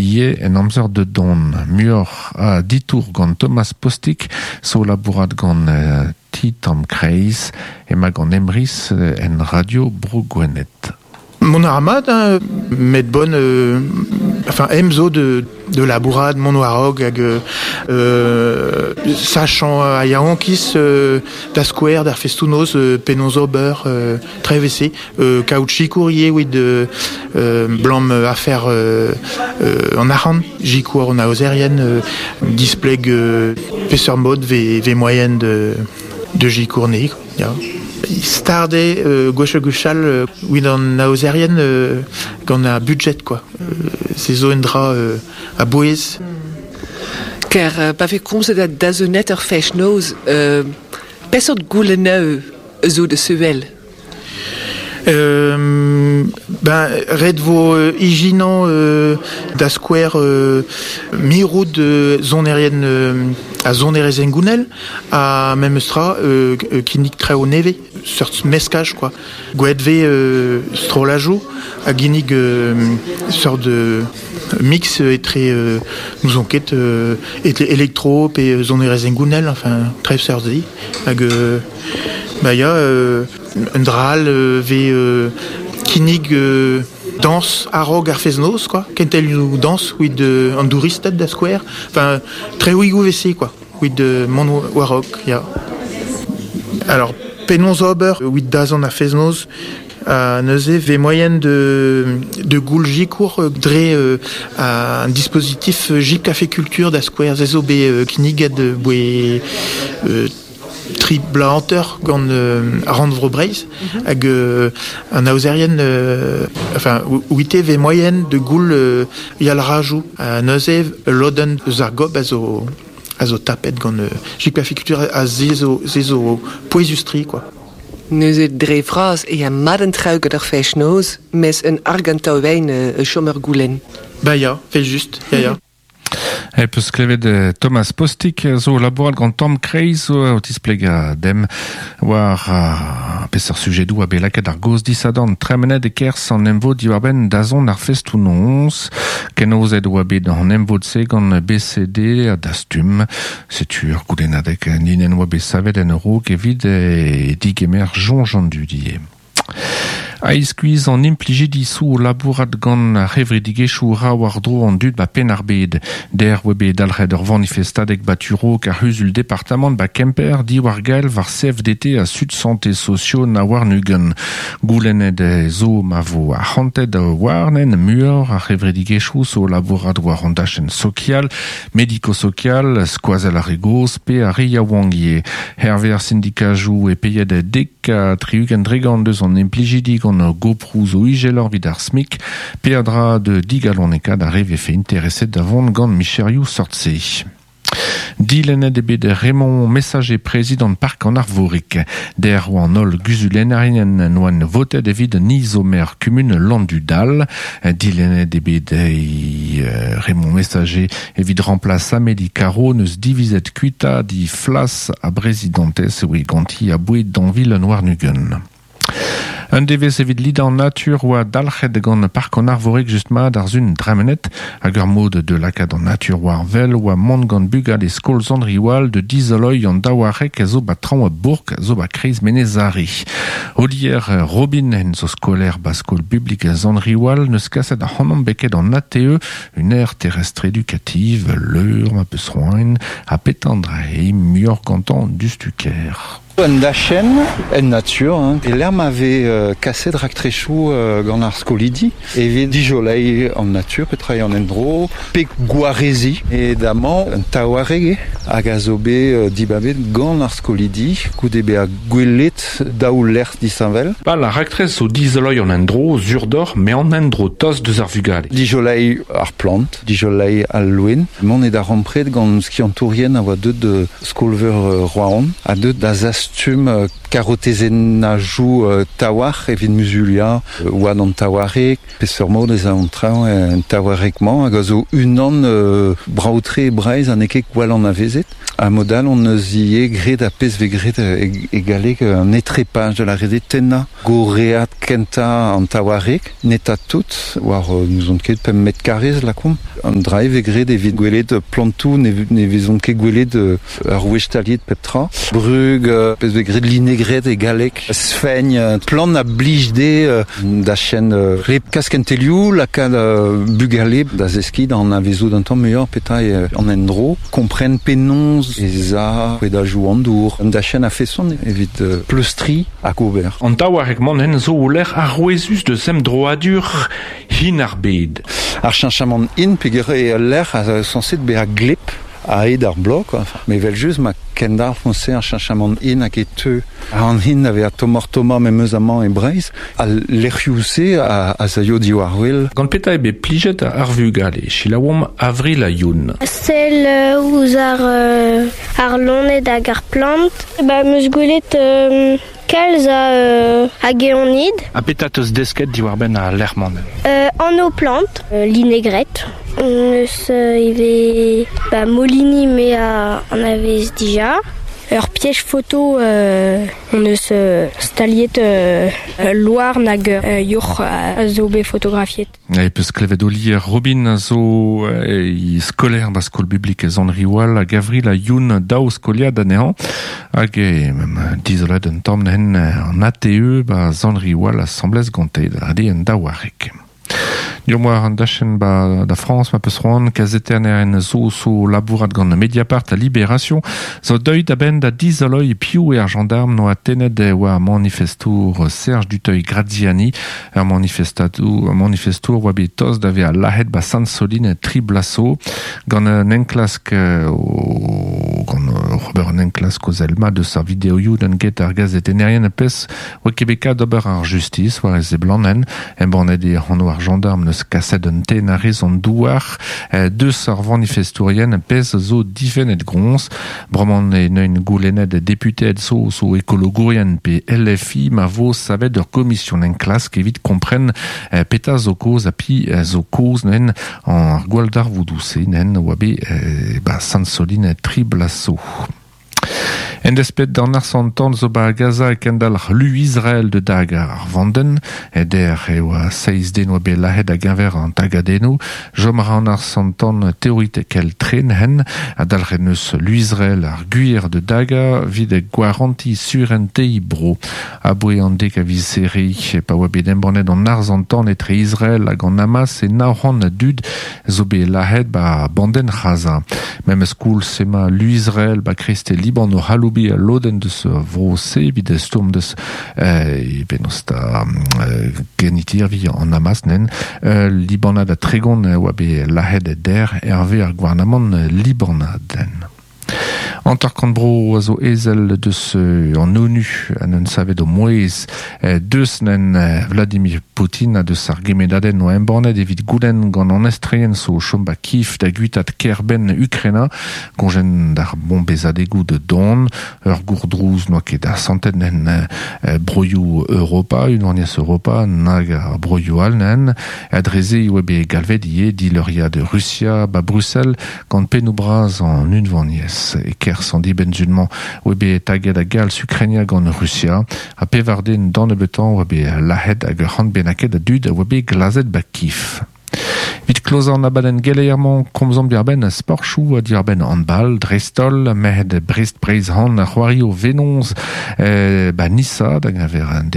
ivez en amzer da dont. Muioc'h a ditour gant Thomas Postic zo labourat gant Ti Tamm Kreiz emañ gant Emrys en Radio Bro Gwened. Mont a ra mat, hein, met bon, enfin, em zo de, de labourat mont war-raok hag euh, sachañ a yaouankiz euh, da skouer d'ar festoù-noz euh, penaos ober euh, trevese euh, kaout sikour ivez evit euh, blam afer euh, an arc'hant sikour an aozerien euh, displeg euh, peseurt mod vez, vez moyen de, de sikour ne ya. Start eo gwech-ha-gwechall evit an aozerien gant ar budjed quoi. Se zo un dra a-bouez. Ker pa vez komzet a dazonet ur fest-noz, peseurt goulennoù zo da sevel? Ben, ret vo ijinañ da skouer mirout sonerien ha sonerezh hengounel ha memes tra kinnig traoù nevez, seurt meskaj quoi. Gwelet 'vez strollajoù a ginnig seurt mix etre n'ouzon ket etre elektro pe sonerezh hengounel, enfin traoù seurt-se. Hag bah ya, Un dra all 'vez kinnig dañs a-raok ar fest-noz quoi, kentelioù dañs evit an douristed da skouer. Enfin, traoùigoù 'vez-se quoi, evit mont war-raok, ya. Alors, penaos ober evit dazont ar fest-noz? Neuze 'vez moaien de, de goul sikour dre un dispositif Jeep Café Culture da skouer. Se zo bet kinniget boe tri bloaz hanter gant Rannvro Breizh hag an aozerien enfin ouite 'vez moaien de goul yalc'hajoù ha neuze ul lodenn eus ar gob a zo a zo tapet gant Jikpafikultur ha se zo se zo pouezus-tre quoi. Neuze dre vras e ya mat an traoù gant ar fest-noz mes un argantaouein e chom ur goulenn. Bah ya, 'vel-just, ya ya. E peus klevet Thomas Postic zo labourat gant Tamm Kreiz o tisplegañ demp war peseurt sujedoù a bet lakaet ar gaoz disadorn tremenet e-kerzh an emvod diwar-benn dazont ar festoù-noz. Kenaozet oa bet an emvod-se gant BCD ha Dastum. Setu ur goulennadeg linenn oa bet savet en a-raok evit digemer soñj an dud ivez. A-iskuizh an implijidi zo o labourat gant ar c'hevredigezhioù 'ra war-dro an dud 'ba Penn-ar-Bed. Dec'h 'oa bet dalc'het ur vanifestadeg 'ba tu-raok ar c'huzul-departamant 'ba Kemper diwar gael war CFDT ha Sud Santé Socio na warn-ugent. Goulennet zo ma vo arc'hantet warnen muioc'h ar c'hevredigezhioù zo o labourat war an dachenn sokial, mediko-sokial, skoazell ar re gozh pe ar re yaouank ivez. Hervez ar sindikajoù e peiet dek ha 60% eus an implijidi gant goproù zo izeloc'h evit ar SMIC, peadra da digalonekaat ar re vefe intereset da vont gant micherioù sort-se. Dilennet eo bet Raymond Messager prezidant Park an Arvorig. Dec'h oa an holl guzulennerien n'oant votet evit an izomer kumun Landudal. Dilennet eo bet Raymond Messager Evit remplaç Amélie Caro n'eus divizet kuitaat he flas a brezidantez e oe ganti aboe dañvil an warn-ugent. Un devezh evit lidañ an natur oa dalc'het gant Park an Arvorig just mat ar sun dremenet hag ur mod de lakaat an natur war wel oa mont gant bugale skol Sant-Riwal de dizoloiñ an daouareg a zo ba traoñ a bourk zo ba kreiz Menez-Are. Olier Robin en zo skolaer ba skol bublik Sant-Riwal neus kaset ac'hanomp beket an ATE Une aire terrestre éducative, leur ma peus c'hoant, ha petra eo muioc'h gantañ diouzhtu-kaer. Un dachenn en natur, hein, e-lec'h ma vez kaset raktresoù gant ar skolidi evit dijoleiñ an natur, petra eo an endro, pe gwareziñ. E damañ un taouareg eo hag a zo bet dibabet gant ar skolidi goude bezañ gwelet daou lec'h disheñvel. Pal ar raktres zo dizoloiñ an endro sur deoc'h met an endro tost deus ar vugale. Dijoleiñ ar plant, dijoleiñ al loen. Mont e darempred gant skiantourien a oa deuet de skol-veur Roazhon ha deuet da zastum dastum karotezennajoù taouarc'h evit muzuliañ oad an taouarc'heg, peseurt mod ez a an traoñ en taouarc'heg-mañ hag a zo unan brav-tre e Breizh ha n'eo ket gwall anavezet. Ha mod all hon eus ivez graet ar pezh vez graet e galleg un etrepaj da lâret eo tennañ gorread kentañ an taouarc'heg, netañ tout, war n'ouzon ket pemp metr karrez lakaomp. An dra e vez graet evit gwelet plantoù ne vezont ket gwelet ur wech staliet pep tra. Brug, pezh vez graet linegret e galleg, sfegn, plant a blij dezhe da chen re kaskentelioù, lakaat bugale da zeskiñ da anavezout un tamm muioc'h petra eo an endro, kompren penaos ez a rouedajoù an dour, un dachenn a-feson evit pleustriñ hag ober. An taouarc'heg-mañ hen zo o lec'h arouezus deus emdroadur hin ar bed. Ar cheñchamant hin peogwir eo ul lec'h a zo sañset bezañ gleb a-hed ar bloaz quoi. Mais evel-just ma kendalc'h se ar cheñchamant hin hag e teu an hin da vezañ tommoc'h-tommañ memes amañ e Breizh, al lec'hioù-se a zaio diwar-wel. Gant petra eo bet plijet ar vugale? Selaouomp Avril ha Youn. Sell ouzh ar, ar loened hag ar plant. Ba, 'm eus gwelet kalz a, a geonid. Ha petra 'teus desket diwar-benn al lec'h-mañ? Anv plant, linegret. On eus ivez ba, Molini me a anavez dija. Ur piège photo on eus staliet ul louarn hag ur yourc'h a zo bet fotografiet. E peus klevet Olier Robin a zo e skolaer ba skol bublik Sant-Riwal hag Avril ha Youn daou skoliad anezhañ hag e dizolet un tamm nen an ATE ba Sant-Riwal asambles gante da un daouareg. Deomp war an dachenn ba da Frañs ma peus c'hoant kazetennerien zo zo labourat gant Mediapart ha Libération zo deuet a-benn da dizoloiñ piv eo ar gendarm noa tennet war manifestour Serge Duteuil-Graziani Ur manifestadour, manifestour oa bet tost da vezañ lazhet ba Sant-Solin tri bloaz zo gant un enklask gant ober un enklask o sell mat eus ar videoioù gant get ar gazetennerien pezh oa ket bet kat d'ober ar justis war e seblantenn. Embannet eo anv ar gendarm neus kaset un tenn a-rez an douar deus ar vanifestourien pezh zo difennet groñs. Bremañ e neuint goulennet deputeed zo zo ekologourien pe LFI ma vo savet ur gomision enklask evit kompren petra zo kaoz ha pi zo kaoz neu'n ar gwalldarvoudoù-se nen oa bet ba Sant-Solin tri bloaz zo. En desped d'an arsantan zo ba Gaza e kendalc'h lu Israel da dagañ ar vandenn. Der e oa seizh den oa bet lazhet a-geñver an tagadennoù. Chom a ra an arsantan teoritekel tren hen ha dalc'het neus lu Israel ar gwir da dagañ evit gwarantiñ surentez bro. Aboe an dek a viz Here pa oa bet embannet an arz-an-tan etre Israel hag an Hamas e 900 a dud zo bet lazhet ba bandenn C'haza. Memes koulz emañ lu Israel ba kreiste Liban o c'haloubiñ al lodenn deus vro-se evit stourm deus penaos da genitirvi an Hamas nen. Libanad ha 30 oa bet lazhet der hervez ar gouarnamant libanad. 50 bro a zo ezel deus an ONU ha neunt savet o mouezh deus nen Vladimir Poutine ha deus ar gemennadenn oa embannet evit goulenn gant an estreien zo chom ba Kiev da guitaat kêr-benn Ukraina goñjenn d'ar bombezadegoù da dont. Ur gourdrouz n'oa ket asantet nen broioù Europa, Unvaniezh Europa nag ar broioù all nen. Ha dre-se e oa bet galvet ivez dileuriad Rusia ba Brussel gant pennoù-bras an Unvaniezh. E-kerzh an dibenn-sul-mañ oa bet taget a-galz Ukrainia gant Rusia ha pevar den d'an nebeutañ oa bet lazhet hag ur c'hant bennaket a dud a oa bet glazet ba Kif. Evit klozañ an abadenn geleier-mañ, komzomp diwar-benn sporchoù ha diwar-benn handball, dreist-holl merc'hed Brest Breizh-Han a c'hoario Venoz ba Nisa da geñver an